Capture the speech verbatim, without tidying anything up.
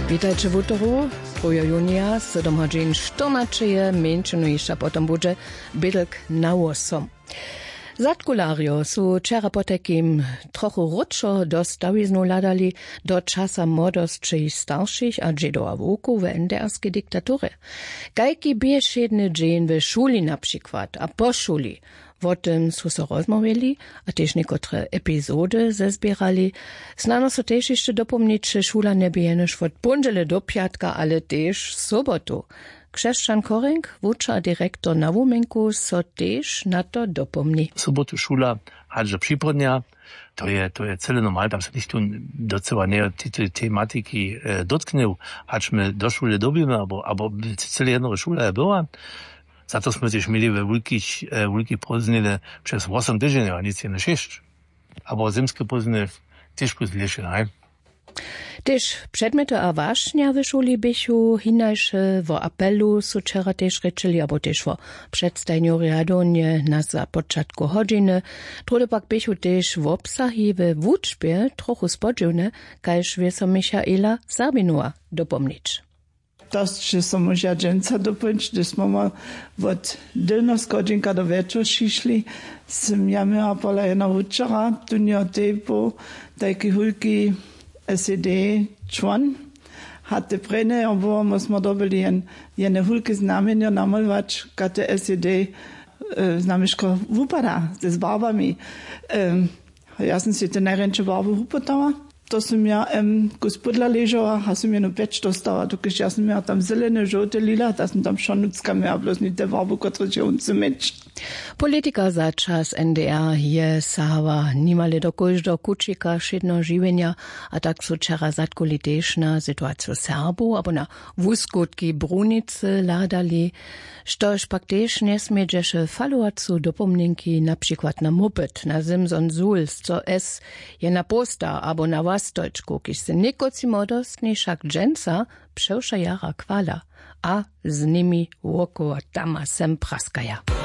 Witajće wutoru. Druheho junija, sydom hodźin štyrnaćeje mjeńšinu hišća potom budźe bědlk na wosom. Zadkularjo su wčera potajkim trochu wróćo do stawiznu hladali, do časa młodosći staršich a dźědow a wowkow w ndrskej diktaturje. Kajki bě wšědny dźeń w šuli na přikład a po šuli? Wo tym su so rozmołwili a tež někotre epizody zezběrali. Snano so tež hišće dopomnić, šula njebě jenož wot póndźele do pjatka, ale tež sobotu. Křesćan Korenk, wučer a direktor na wuměnku, so tež na to dopomni. Sobotu šula hač do připołdnja. To je to je cyle normal, tam se nichtó docyła njeje tej tematiki dotknył. Hač my do šule dyrbimy abo abo cyle jednoho šula je była. Za to smy tež měli we wulkich wulkich prózdnile přez wosom tydźenjow a nic jenož šěsć. Abo zymske pózdnile tež plus dlěše haj. Tež předmjety a wašnja w šuli běchu hinaše. Wo apelu su wčera tež rěčeli abo tež wo předstajenju rjadownje na započatku hodźiny. Druhdy pak běchu tež wobsahi we wučbje trochu spodźiwne, kaž wě so michaela serbinowa dopomnić. To sće so móža dźensa dopomnić, hdyž smy ma wot dylnoschodźinka do wječor šišli, sym ja měła pola jeno wučera tunjo tej poł tajki hólki sed čłon. Hatte prejnje jo było my smy dobyli jene hólke znamjenjo namolować kate sed znamješko wupada z barbami. Ja sym sej te najrjeńše barby wupytała. To sym ja em kus pódla ležała a sym jenu pjeć dostała dokelž ja sym ja tam zelene žołte lila da sym tam wšo nutřka měła blózni te barby kotrež je wón chce měć. Politika za čas ndr je sahała nimale do kóždeho kućika wšědneho žiwjenja. A tak su wčera zadkuli tež na situaciju serbow abo na wuskutki brunicy hladali. Štož pak tež njesmědźeše falowacu dopomněnki na přikład na mopyt na simson sul sco s je na połsta abo na łastojčku kiž se někotři młodostni wšak dźensa přewša jara chwala a z nimi wokoło tam a sem praskaja.